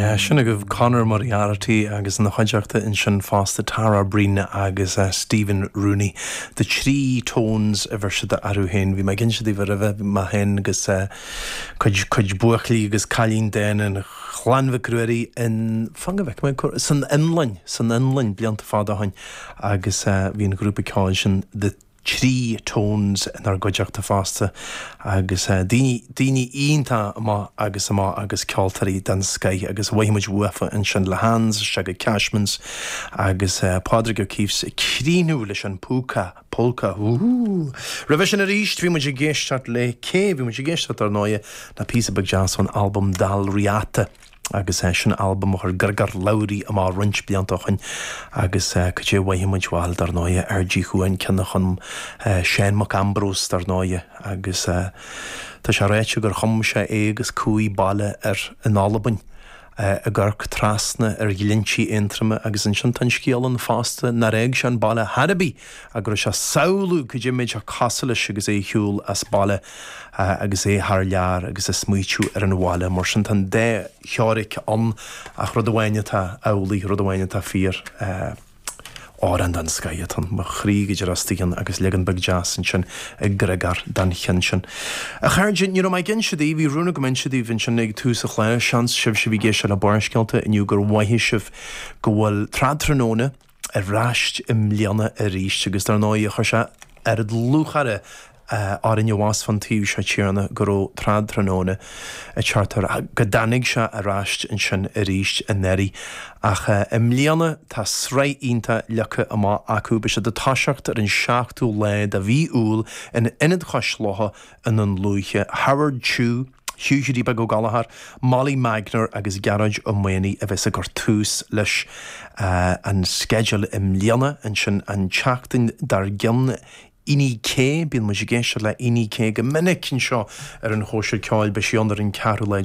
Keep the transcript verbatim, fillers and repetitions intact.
Yeah, sin agaibh Conor Moriarty agus ina chuideachta ansin fosta Tara Breen agus uh, Stephen Rooney. The Three Tones a bheir siad orthu féin, bhí mé ag inse daoibh roimhe mé féin agus uh, cuid cuid buachaillí agus cailíní den an Chlann Mhic Ruairí in fan go bhfeice mé san Fhionlainn san Fhionlainn blianta fada ó shin agus uh, bhí an grúpa ceoil sin The Three Tones inár gcuideachta fosta agus uh, daoine daoine iontach amach agus amach agus ceoltóirí den scoth agus mhothaigh muid uafa ansin le Hans se go Cashmans agus uh, Pádraig O'Keeffe ag críochnú leis an púca polka. Roimhe sin arís bhí muid ag éisteacht le cé bhí muid ag éisteacht ar ndóigh na píosa beag deas ón album Dál Riata. agus é sin album a chuir Griogair Labhruidh amach roinnt blianta ó shin agus cad é a mhothaigh muid bhuel dar ndóigh ar dí chuain cinna chun Seán Mac Ambrós dar ndóigh agus Tá sé ráite gur chum sé é agus cumha baile ar in Albain. ag amharc trasna ar Ghleanntí Aontroma agus ansin tá scéal ann fosta nár fhág sé an baile ar bith agus sé samhlú go dtimid a casáis agus é shiúl as baile agus é thar lear agus ag smaoitiú ar an bhaile mar sin tá dá theoiric ann ach rud amháin atá amhlaidh rud amháin atá fíor. Amhrán den scoth mo chroí go dtí agus leagan beag deas ansin ag Griogair den cheann sin. A chairde ní mé gin se bhí rún go min se bhín sin ag tús a chlé seans sibh si bhí géis le Barrscéalta inniu gur mhothaigh sibh go bhfuil Tráthnóna ar ais i mbliana arís agus dar ndóigh chuir sé ar lúcháir orainn abhus fan taobh seo tíre go raibh Tráthnóna a chartar go dtáinig sé ar ais ansin arís anuraidh ach i mbliana tá sraith iontach leagtha amach acu beidh siad ag toiseacht ar an seachtú lá de mhí Iúil in Ionad Chois Locha in an Lúiche Howard Chu, Hugh Beag Ó Gallchóir, Molly Magner agus Gearóid Ó Maonaigh a bheas ag cur tús leis uh, an sceideal i mbliana ansin an tseachtain dár gcionn Inni K bíonn muid ag éisteacht le Inni K go minic anseo ar an chóisir ceoil beidh sí ar an ceathrú lá